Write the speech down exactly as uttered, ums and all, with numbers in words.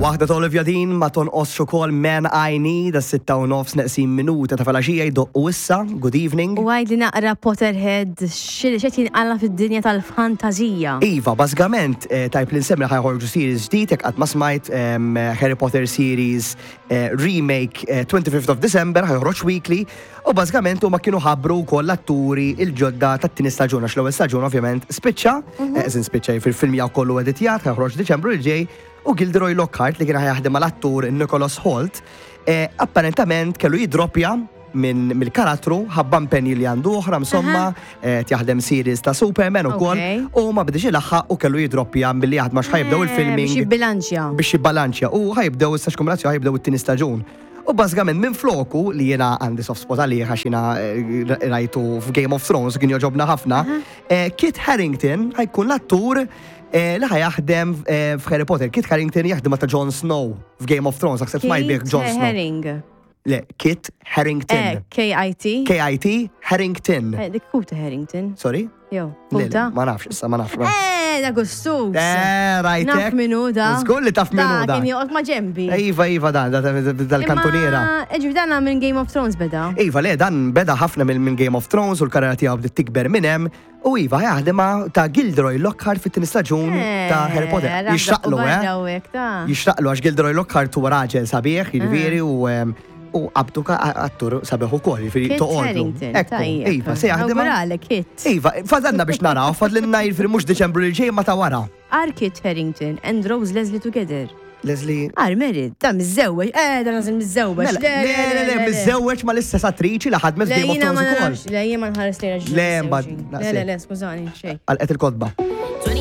Waħda ta' Olivia Dean ma tonqosx ukoll Man I Need, sitta u nofs neqsin minuta ta' filgħaxija jdoqqu issa. Good evening. U għidli naqra, Potterhead, x'qed jinqala fid-dinja tal-fantazija? Iva, bażikament, eh, tajb li nsemmi ħa joħorġu series ġdid, jekk qatt ma smajt em, Harry Potter series eh, remake, eh, twenty-fifth of December, ħa joħroġ weekly, u bażikament huma kienu ħabbru wkoll l-atturi il-ġodda tat-tieni staġun, għax l-ewwel staġun ovvjament spiċċa, eh, eżin spiċċa fil-film jew kollu editjat, ħa joħroġ Diċembru li ġej, u Gilderoy Lockhart li kien ħa jaħdem mal-attur Nicholas Hoult, eh, apparentament kellu jidropja minn mill-karattru ħabba impenji li għandu oħra, insomma, eh, jaħdem series ta' Superman ukoll Okay. u ma bidix ilaħħaq u kellu jidroppja billi jaħdem għax ħa jibdew il-filming Biex jibbilanċja. Biex jibbalanċja u ħa jibdew issa x'kombinazzjoni, ħa jibdew it-tieni staġun. U bażikament minn floku li jiena għandi soft spot għalih għax jiena eh, rajtu f'Game of Thrones, kien jogħġobna ħafna, eh, Kit Harington ħa jkun l-attur eh, li ħa jaħdem eh, f'Harry Potter. Kit Harington jaħdem ta' Jon Snow f'Game of Thrones, naħseb smajt bih Jon Kate Snow. Herring. Le, Kit Harington. Eh, K I T. K I T Harington. Eh, dik Kuta Harrington. Sorry? Jo, Le, le, Kuta. ma nafx, issa ma nafx. Eh, da gustus. Eh, rajtek. Naf minu da. Żgur li taf minu da. Kien joqgħod ma' ġembi. Iva, iva, dan, da- da- dal-kantuniera. Eġi, dan minn Game of Thrones beda. Iva, le, dan beda ħafna minn minn Game of Thrones u l-karriera tiegħu bdiet tikber minn hemm. U iva, jaħdem ma' ta' Gilderoy Lockhart fit-tieni staġun ta' Harry Potter. Jixtaqlu, eh? Jixtaqlu għax Gilderoy Lockhart huwa raġel sabiħ, jiġifieri, u em, u qabdu ka attur sabiħ ukoll, jiġifieri Kit toqgħodlu. Harington, Ekku, tajjeb. iva, se jaħdem. Nawguralek, Kit. Iva, fadalna biex naraw, fadlinna jiġifieri mhux Deċembru li ġej ma ta' wara. Are Kit Harington and Rose Leslie together? Leslie. Are married, da miżżewweġ, eh, da nazil miżżewweġ. Mela, le, le, le, miżżewweġ ma l-istess attriċi li ħadmet Le, Game of jiena ma Thrones ukoll. nafx, le, jiena ma nħares li Le, mbagħad, Le, le, le, skużani, xej. Għalqet il-kotba.